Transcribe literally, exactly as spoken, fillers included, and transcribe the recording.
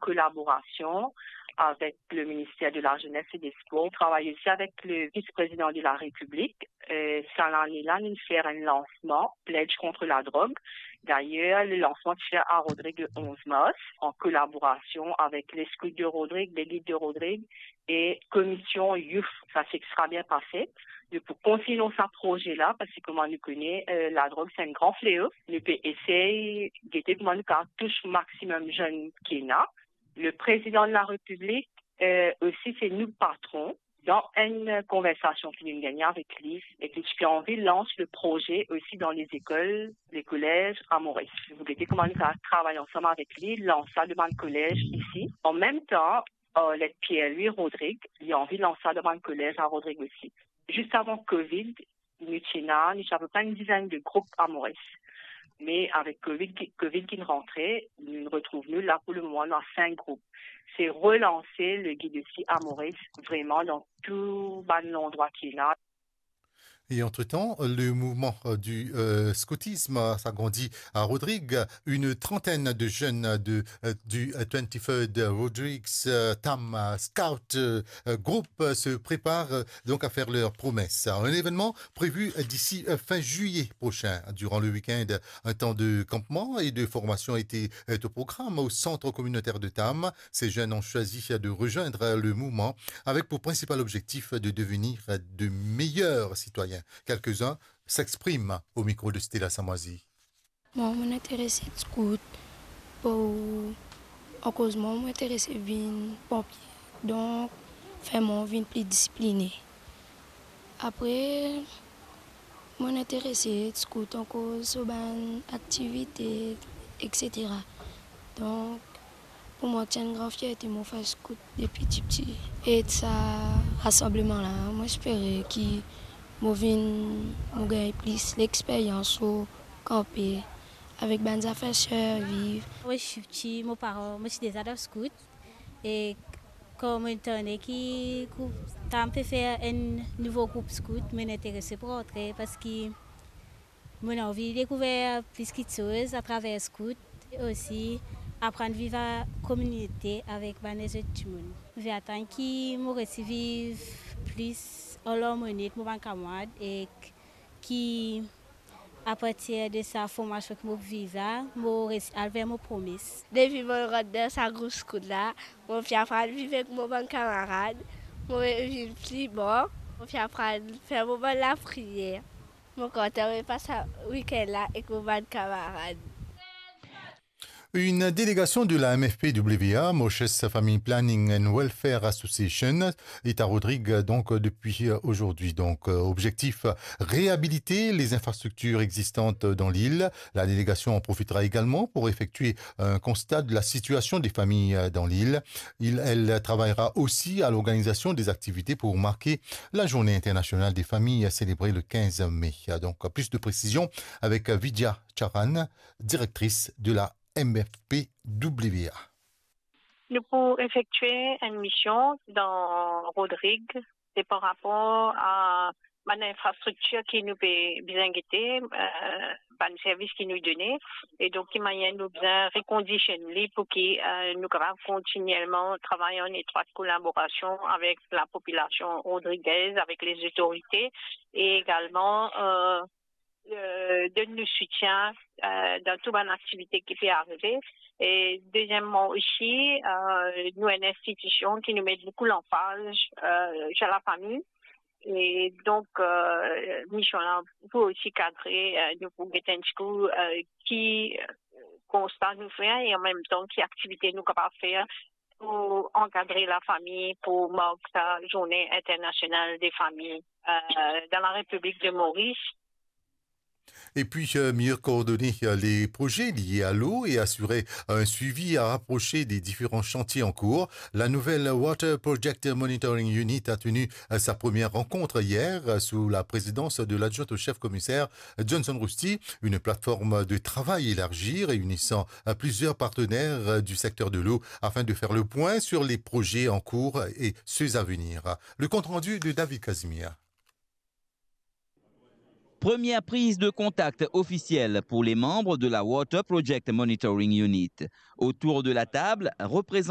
kolaborasion avek le Minister de la Jeunesse et des Sports. Travay osi avek le Vis-Prezidan de la Repiblik. Euh, sa lane la, nou fer enn lansman, Pledge contre la drogue. Dayer, le lansman ti fer a Rodrig le onz mars, an kolaborasion avek les Scouts de Rodrig, les Guides de Rodrig, e Komision Youth. Sa ti extra bien pase. Nou pou kontinie sa proze la, parski kouma nou kone, euh, ladrog se enn gran fleo. Nou pe esey gete kouma nou kapav tous maximum zenn ki ena. Le Prezidan de la Repiblik, euh, osi se nou patron. Dan enn konversasion ki nou gagne avek li, e ki ti anvi lans le proze osi dan les écoles, les collèges a Moris. Nou pou gete kouma nou kapav travay ansam avek li, lans sa dan bann kolez isi. An mem tan, Arlette Pierre-Louis Rodrig, li anvi lans sa dan bann kolez a Rodrig osi. Zis avan Covid, nou ti ena, nou ti apepre enn dizenn de group a Moris. Me avek Covid ki, Covid ki rantre, nou retrouv nou la pou le moman, nou ena sink group. Se relanse le Guide Six a Moris, vreman dan tou bann landrwa ki ena. Et entre-temps, le mouvement, euh, du, euh, scoutisme, euh, s'agrandit à Rodrig. Une trentaine de jeunes de, euh, du, euh, twenty-third Rodrigues, euh, Tam, euh, Scout, euh, euh, Group, euh, se préparent, euh, donc à faire leur promesse. Un événement prévu, euh, d'ici, euh, fin juillet prochain. Durant le week-end, un temps de campement et de formation était, est au programme au centre communautaire de Tam. Ces jeunes ont choisi de rejoindre le mouvement avec pour principal objectif de devenir de meilleurs citoyens. Quelques-uns s'expriment au micro de Stella Samoizi. Mwa, mo interese scout pou, akoz mwa, mo interese vinn ponpie. Donk, fer mwa vinn pli disipline. Apre, mo interese scout akoz so bann aktivite, et cetera. Donk, pou mwa, ti enn gran fierte mo fer scout depi tipti. E sa rasanbleman la, mo espere ki mo vinn, mo gagn plis lexperyans lor kanpe avek bann zafer sirviv. Mo ti piti, mo paran, mo ti deza dan scout. E kan mo tande ki group Tam pe fer enn nouvo group scout, mo interese pou rantre, parski mo anvi dekouver plis kiksoz atraver scout, e osi aprann viv an kominote avek bann lezot dimoun. Mo pe atann ki mo resi viv plis an larmoni ek mo bann kamarad, e ki apartir de sa formasion ki mo viv la, mo resi al ver mo promes. Depi mo rant dan sa group scout la, mo finn aprann viv ek mo bann kamarad, mo vinn pli bon, mo finn aprann fer mo bann lapriyer. Mo kontan mo pas sa wikenn la ek mo bann kamarad. Une délégation de la M F P W A, Mauritius Family Planning and Welfare Association, est à Rodrigues, donc, depuis, euh, aujourd'hui. Donc, euh, objectif, réhabiliter les infrastructures existantes dans l'île. La délégation en profitera également pour effectuer un constat de la situation des familles, euh, dans l'île. Il, elle travaillera aussi à l'organisation des activités pour marquer la Journée internationale des familles célébrée le quinze mai. Donc, plus de précisions avec Vidya Charan, directrice de la M F P W A. Nou pou efektie enn mision dan Rodrig, se par rapor a bann infrastriktir ki nou pe bizin gete, euh, bann servis ki nou done, e donk ki manier nou bizin rekondisionn li pou ki, euh, nou kapav kontinielman travay an etrwat kolaborasion avek lapopilasion rodrigez, avek lezotorite, e egalman, euh, euh, donn nou soutien, euh, dan tou bann aktivite ki pe arive. E deziemman osi, euh, nou enn institision ki nou met boukou lanfaz, euh, lor lafami. E donk, euh, mision la pou osi kadre, euh, nou pou get enn tikou, euh, ki, euh, konsta nou fer e an mem tan ki aktivite nou kapav fer pou ankadre lafami, pou mark sa Journée Internationale des Familles, euh, dans la République de Maurice. Et puis, euh, mieux coordonner, euh, les projets liés à l'eau et assurer un suivi rapproché des différents chantiers en cours. La nouvelle Water Project Monitoring Unit a tenu, euh, sa première rencontre hier, euh, sous la présidence de l'adjointe au chef commissaire Johnson Rusty. Une plateforme de travail élargie réunissant, euh, plusieurs partenaires, euh, du secteur de l'eau afin de faire le point sur les projets en cours et ceux à venir. Le compte-rendu de David Casimir. Première prise de contact officielle pour les membres de la Water Project Monitoring Unit. Autour de la table, représentants